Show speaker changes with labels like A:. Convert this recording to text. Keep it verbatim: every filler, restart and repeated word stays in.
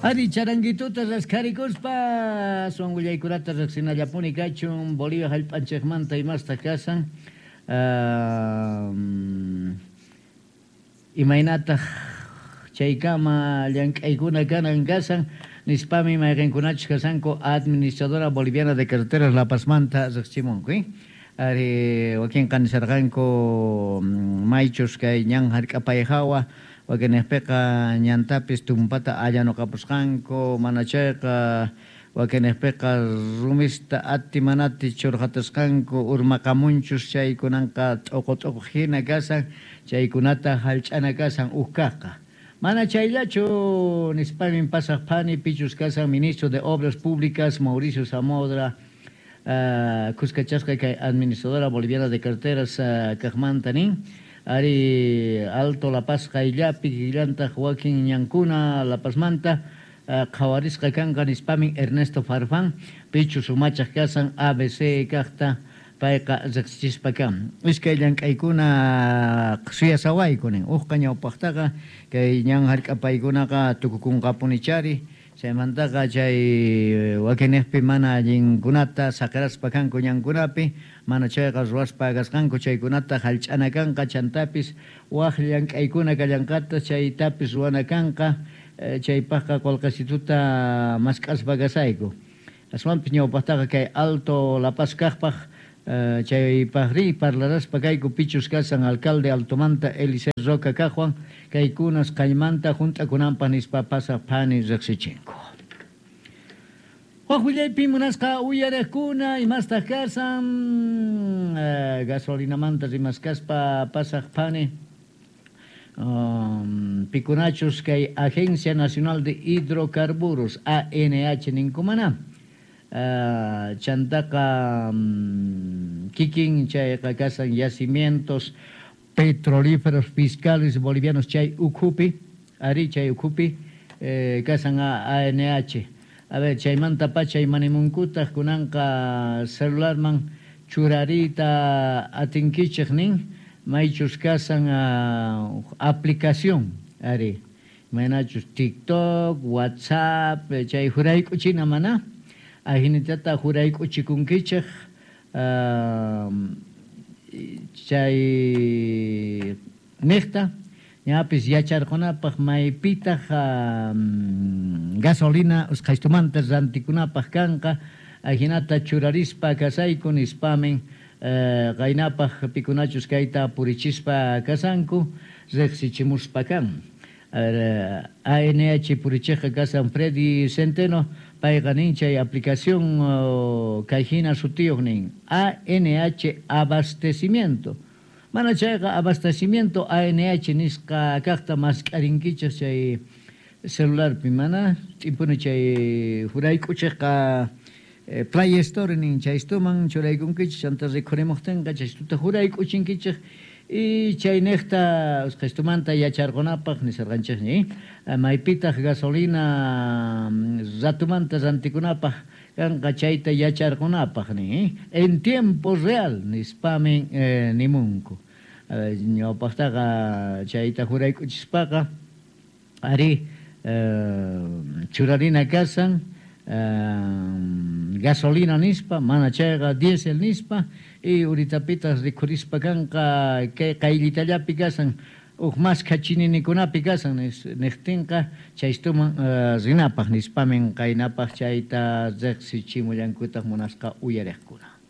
A: Ari charanguituta raskharikuspa aswan willaykunata riqsinallapuni kachun Bolivia hallp'anchikmanta imastaq kasan uh, imaynataq chaykama llank'aykuna kanan kasan nispami mayqinkunachus kasanku Administradora Boliviana de Carreteras La Pazmanta riqsichimunku, eh? Ari wakinqa nisarqanku maychus kay ñan hark'apay hawa wakinniqpiqa ñantapis tumpata allanuqapusqanku mana chayqa wakinniqpiqa rumista ati manati churqatasqanku urmaqamunchus chaykunanqa t'uqu t'uqu hina kasan chaykunata hallch'ana kasan huk kaqqa. Mana chayllachu nispamin pasaq phani pichus kasan ministro de Obras Públicas Mauricio Samodra uh, kuskachasqa kay Administradora Boliviana de Carreteras uh, kaqmanta nin ari Alto La Paz qayllapi kikillantaq wakin ñankuna La Pazmanta uh, qhawarisqa kanqa nispamin Ernesto Farfán pichus umachaq kasan A B C kaqta payqa riqsichispa kan. Iskay llank'aykuna suyasawayku nin uqqa ñawpaqtaqa kay ñan hark'apaykunaqa tukukunqapunichari chaymantaqa chay wakiniqpi mana allinkunata saqiraspa kanku ñankunapi mana chayqa ruwaspa kasqanku chaykunata hallch'ana kanqa chantapis waq llank'aykuna kallanqata chaytapis ruwana kanqa chaypaqqa qullqisituta mask'aspa kasayku. Aswanpis ñawpaqtaqa kay Alto La Paz kaqpaq Uh, chaypaqri parlaraspa kayku pichus kasan alcalde Altomanta Eliseo Roca kaqwan kaykunas qaymanta hunt'akunanpaq nispa pasaq phani riqsichinku. Waq willaypi munasqa uyariqkuna imastaq kasan uh, gasolinamanta rimaskaspa pasaq phani um, pikunachus kay Agencia Nacional de Hidrocarburos A N H ninkumana. Uh, chantaqa um, kikin chayqa kasan yacimientos petrolíferos fiscales bolivianos chay ukhupi ari chay ukhupi eh, kasan A N H. A ver chaymanta pacha imanimunkutaq kunanqa celularman churarita atinkichik nin maychus kasan uh, aplicación ari imaynachus TikTok, WhatsApp chay jurayk'uchina mana ahinitata jurayk'uchikunkichik uh, chay niqta ñapis yacharqunapaq maypitaq uh, gasolina usqhaystumanta rantikunapaq kanqa ahinata churarispa kasayku nispamin uh, qaynapaq pikunachus kayta purichispa kasanku riqsichimuspa kan. A N H purichiqqa kasan Freddy Centeno payqa nin chay aplicación uh, kayhina sutiyuq nin A N H abastecimiento. Mana chayqa abastecimiento A N H nisqa kaqta mask'arinkichik chay celularpi mana t'impuni chay jurayk'uchiqqa eh, Play Store nin chaystuman churaykunkichik chanta rikhurimuqtinqa chaystuta jurayk'uchinkichik y chayniqta usqhaystumanta yacharqunapaq nisarqanchikñi maypitaq gasolina ratumanta rantikunapaq kanqa chayta yacharqunapaq ni en tiempo real nispamin eh, nimunku. Ñawpaqtaqa chayta jurayk'uchispaqa ari eh, churarina kasan eh, gasolina nispa mana chayqa diésel nispa y uritapitas rikhurispa kanqa kay qayllitallapi kasan huk maskha chininikunapi kasan niqtinqa chaystuman uh, rinapaq nispamin qaynapaq chayta riqsichimullankutaq munasqa uyariqkuna.